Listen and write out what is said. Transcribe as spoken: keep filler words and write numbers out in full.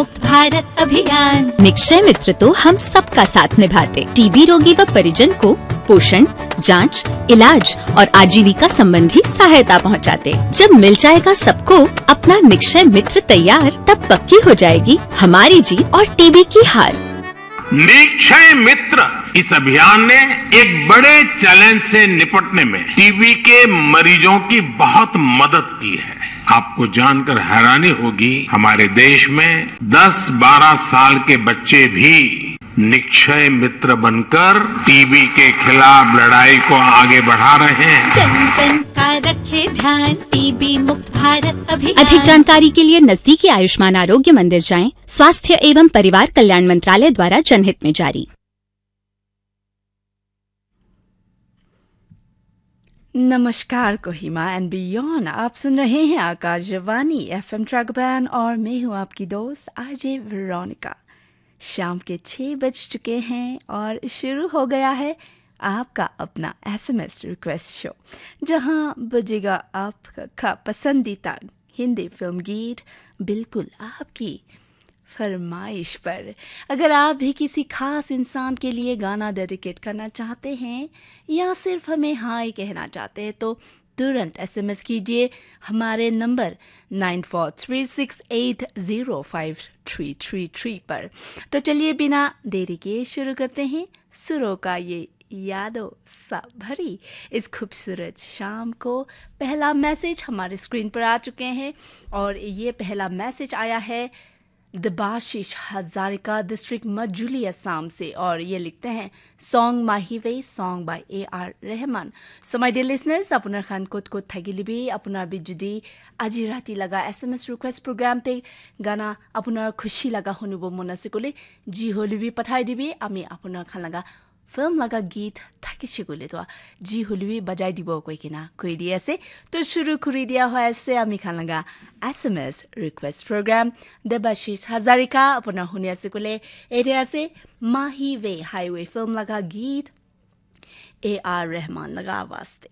मुक्त भारत अभियान। निक्षय मित्र तो हम सबका साथ निभाते, टीबी रोगी व परिजन को पोषण, जांच, इलाज और आजीविका संबंधी सहायता पहुंचाते। जब मिल जाएगा सबको अपना निक्षय मित्र तैयार, तब पक्की हो जाएगी हमारी जीत और टीबी की हार। निक्षय मित्र इस अभियान ने एक बड़े चैलेंज से निपटने में टीबी के मरीजों की बहुत मदद की है। आपको जानकर हैरानी होगी, हमारे देश में दस बारह साल के बच्चे भी निक्षय मित्र बनकर टीबी के खिलाफ लड़ाई को आगे बढ़ा रहे हैं। जन जन का रखे ध्यान, टीबी मुक्त भारत अभियान। अधिक जानकारी के लिए नजदीकी आयुष्मान आरोग्य मंदिर जाएं। स्वास्थ्य एवं परिवार कल्याण मंत्रालय द्वारा जनहित में जारी। नमस्कार कोहिमा and beyond, आप सुन रहे हैं आकाशवाणी एफएम ट्रैक बैंड और मैं हूं आपकी दोस्त आरजे वेरोनिका। शाम के छः बज चुके हैं और शुरू हो गया है आपका अपना एसएमएस रिक्वेस्ट शो, जहां बजेगा आपका पसंदीदा हिंदी फिल्म गीत, बिल्कुल आपकी फरमाइश पर। अगर आप भी किसी खास इंसान के लिए गाना डेडिकेट करना चाहते हैं या सिर्फ हमें हाय कहना चाहते हैं, तो तुरंत एसएमएस कीजिए हमारे number nine four three six eight zero five three three three पर। तो चलिए, बिना देरी के शुरू करते हैं सुरों का ये यादों सा भरी इस खूबसूरत शाम को। पहला मैसेज हमारे स्क्रीन पर आ चुके हैं और ये पहला मैसेज आया है देबाशीष हजारिका, डिस्ट्रिक्ट मजुली, असम से, और ये लिखते हैं, "Song Mahive, song by A R Rahman." So my dear listeners, আপোনাৰ খান ক'ত ক'ত থাকিলে বি আপোনাৰ বি যদি আজি ৰাতি লগা S M S request programme তে গানা আপোনাৰ খুচি লগা শুনিব মন আছে ক'লে, যি হ'লে বি পঠাই দিবি, আমি আপোনাৰ খান লগা ফিল্ম লগা গীত থাকিছে ক'লে তো যি হ'লে বি বজাই দিব কৈ কিনা কৈ দি আছে। তো শুৰু কৰি দিয়া হৈ আছে আমি খান লগা S M S request program. Debashish Hazarika আপোনাৰ শুনি আছে ক'লে, এতিয়া আছে মাহি ৱে হাইৱে ফিল্ম লগা গীত এ আৰ ৰহমান লগা আৱাজ তে।